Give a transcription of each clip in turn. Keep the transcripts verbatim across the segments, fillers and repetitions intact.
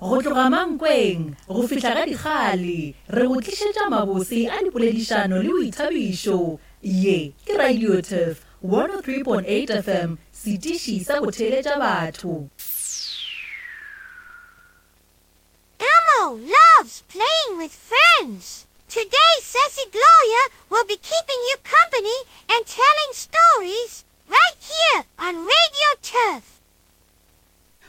Go tloga Mankweng go fihla ga Dikgale, re go tlišetša mabose a dipoledišano le boithabišo. Ye ke Radio Turf one oh three point eight F M, setiši sa go theeletša batho. Elmo loves playing with friends. Today, Sesi Gloria will be keeping you company and telling stories right here on Radio Turf.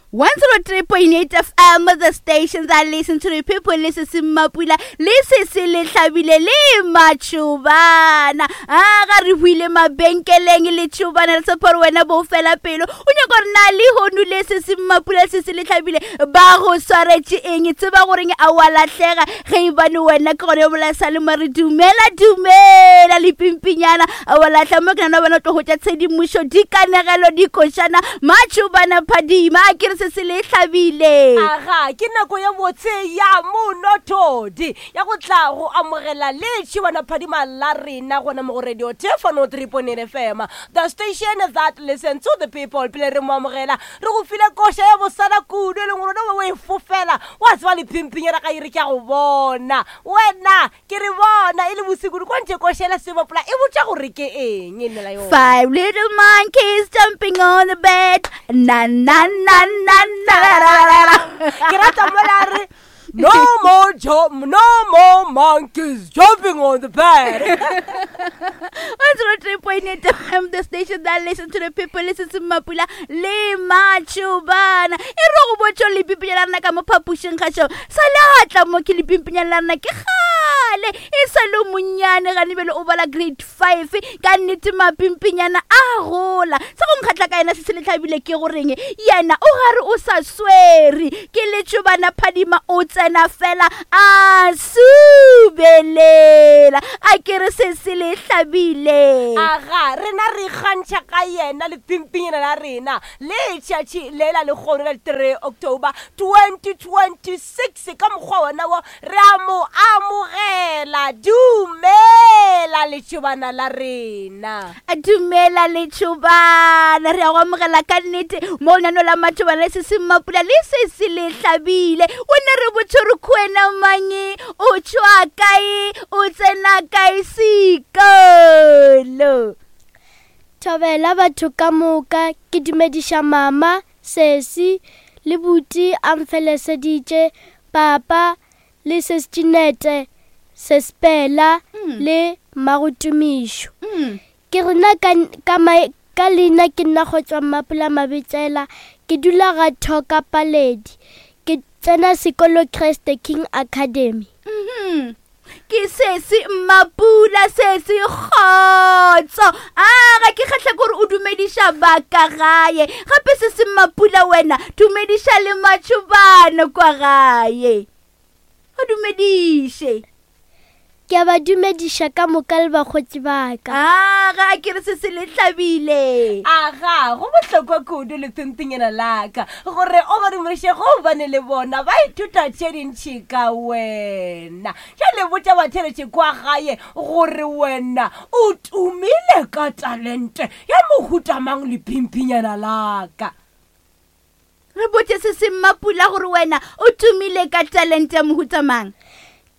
one oh three point eight F M, the station that listen to the people. Le se se Mmapula, le se se le hlabile le matšhobana. A ga re buile mabenkeleng le tšhobana le tshepa gore wena bo fela pelo o nyaka gore na le hono le se se Mmapula se se le hlabile ba go swaretše eng. Tseba goreng a wa lahlega ge e bane wena ke gone yo sa le mare. Dumela, dumela le pimpinyana. A wa lahla mo ke nana bona tlo hwetša tshedimošo, dikanegelo, dikošana, matšhobana phadima. A ke re se se le hlabile. Aga, ke nako ya botse ya monothodi ya go tla go amogela le tšhibana phadima la rena gona mo go Radio Tefano three point eight F M, the station that listen to the people. Pele re mo amogela, re go file koša ya bosana kudu e leng gore o e fofela wa tseba lephimpinyana ga ere ke a go bona wena ke re bona e le bosikudu kwa ntse košela sebopola e botša gore ke eng e nnela yona. Five little monkeys jumping on the bed. Na na na na na na na na. Ke rata mola re no more jo no more monkeys jumping on the bed. one oh three point eight F M, the station that listen to the people. Listen to Mapula le Machubana. E re go botšo le pimpinyana la rena ka mo phapošeng gašo sa le atla mo ke le pimpinyana la rena ke kgale e sa le monnyane gane bele o bala grade five. Ka nnete mapimpinyana a gola. Se go nkgatla ka yena se se le tlhabile ke goreng yena o gare o sa swere ke letšobana phadima o tsena fela a subelela. A ke re se se le hlabile. Aga, rena re ikgantšha ka yena lephimpinyana la rena letšatši lela lekgono la three October twenty twenty-six. Ka mokgwa wona wo re a mo amogela. Dumela letšobana la rena. Dumela letšobana, re a go amogela ka nnete mo lenano la matšobana le se se Mmapula le se se le hlabile. O ne re botse re khuena mange, o tšwa kae, o tsena kae sekolo? Thobela batho ka moka. Ke dumediša mama, sesi le buti a mfeleseditše, papa le sestinete, sespela le mmagotumišo. Ke rena ka, ka, mai- ka leina ke nna go tswa Mmapula Mabitsela. Ke dula ga Thoka Paledi. Ke tsena sekolo Christ King Academy. Mhm. ke sesi Mmapula, sesi kgotso. A ga ke kgatlha ke gore o dumediša ba ka gae gape. Sesi Mmapula, wena dumediša le matšhobana kwa gae, o dumediše. Ke a ba dumediša ka moka le bakgotsi ba ka. A ga a ke re se se le hlabile. Aga, go bohlokwa kudu lephimpinyana laka gore o ba dumediše gobane le bona ba ithuta tše dintšhi ka wena. Jale botša batheletše kwa gae gore wena o tumile ka talente ya mohutamang lephimpinyana laka. Re botse se se Mmapula gore wena o tumile ka talente ya mohutamang.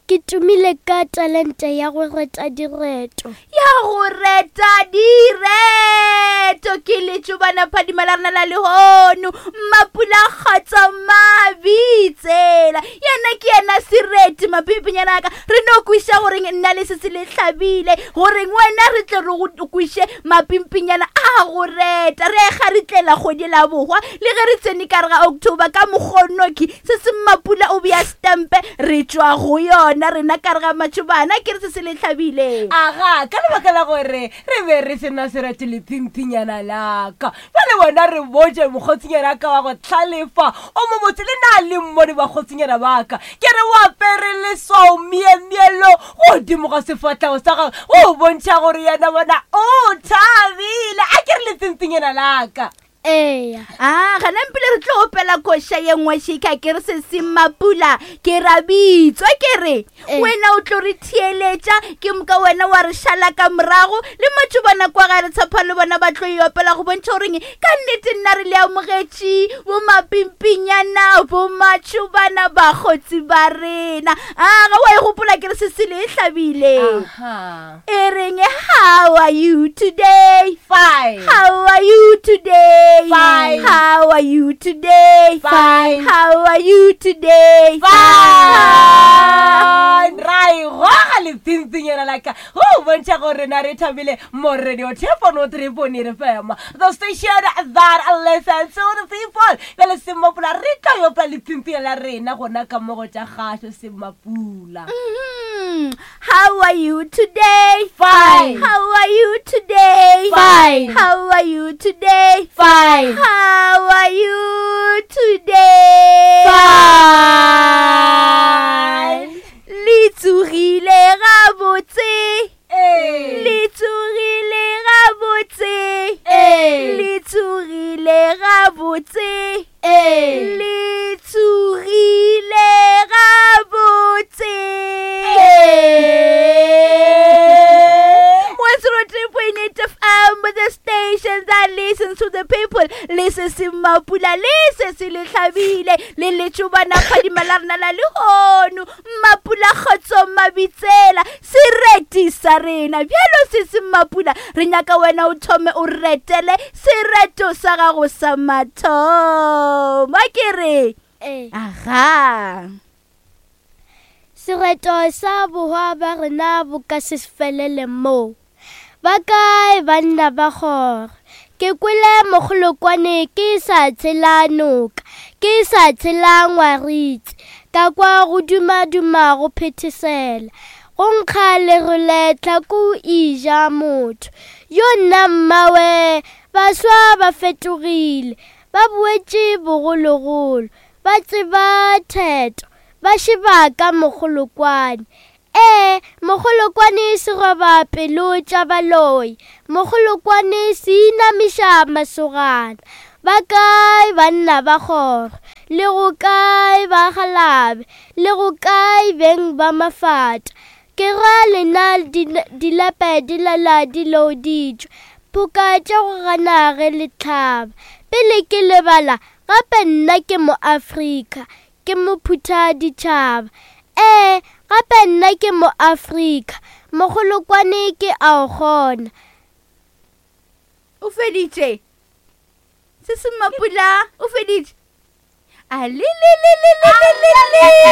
Ke tumile ka talente ya go reta direto. Ya go reta direto ke letšobana phadima la rena la lehono, Mmapula Kgotso Mabitsela. Yena ke yena sereti mapimpinyana ka. Re no kweša goreng nna le se se le hlabile goreng wena re tle re go kweše mapimpinyana a go reta. Re ga re tlela kgwedi la bohwa le ge re tsene ka re ga October ka mokgonoki se se Mmapula o bea stempe re tšwa go yona rena ka re ga matšhobana. Ke re se se le hlabile. Aga, ka lebaka la gore re be re sena sereti lephimpinyana laka, bjale wena re botse mokgotsinyana ka wa go tlhalefa o mo botse le na le mmone bakgotsinyana baka. Ke re o apere leswao miemielo godimo ga sefatlhego sa gagwe o bontšha gore yena bona o thabile. A ke re lephimpinyana laka. Eya. A gana mpile re tlo opela koša ye nngwe šika ke re se Mapula ke ra bitswa ke re Eh. wena o tlo re theeletša ke moka wena wa re šala ka morago le matšobana kwa ga re tshepa le bona ba tlo e opela go bontšha goreng ka nnete nna re le amogetše bo mapimpinyana bo matšobana bakgotsi ba rena. A ga wa e gopola ke re sesele e hlabile Aha. e reng how are you today? Fine. How are you today? Fine. How are you today? Fine. How are you today? Fine. Ra e goga lepimpinyana la ka go bontšha gore na re thabile mo radio telephone three point eight F M, the station that listens to the people. Bjale Semmapula re tlo yopa lepimpinyana la rena gona ka mo go tša kgašo Semmapula. Mm, How are you today? Fine. How are you today? Fine. How are you today? Fine. How are you today? Fine. Le tsogile gabotse. Ee. Le tsogile gabotse. Ee. Le tsogile gabotse. Ee. Le tsogile gabotse. one zero three point eight F M, the station that listens to the people. Le se se Mapula, le se se le hlabile, le letšobana phadima la rena la lehono. Mapula kgotso mabitsela, sereti sa rena. Bjalo se se Mapula, re nyaka wena o thome o retele sereto sa gago sa mathomo. A ke re? Ee. Aga. Sereto sa bohwa ba rena bo ka se felele mo. Ba kae banna ba kgoro? Ke kwele mogolokwane ke sa tshela noka, ke sa tshela ngwaritse, ka kwa go dumaduma go phethesela. Go nkga lerole tlhako e ja motho. Yo nna mmawe, baswa ba fetogile, ba boetše bogologolo, ba tseba theto, ba šeba ka mogolokwane. Ee, mogolokwane se roba pelo tša baloi, mogolokwane se inamiša masogana. Ba kae banna ba kgoro, le go kae bagalabe, le go kae beng ba mafata? Ke ra lena dilepe di lala di louditšwe, phoka tša go gana ge le hlaba. Pele ke lebala gape nna ke moAfrika, ke mophuthaditšhaba. Ee, gape nna ke moAfrika, mogolokwane ke a o kgona. O feditše. Se se Mapula, o feditše. A le le le le le le le le.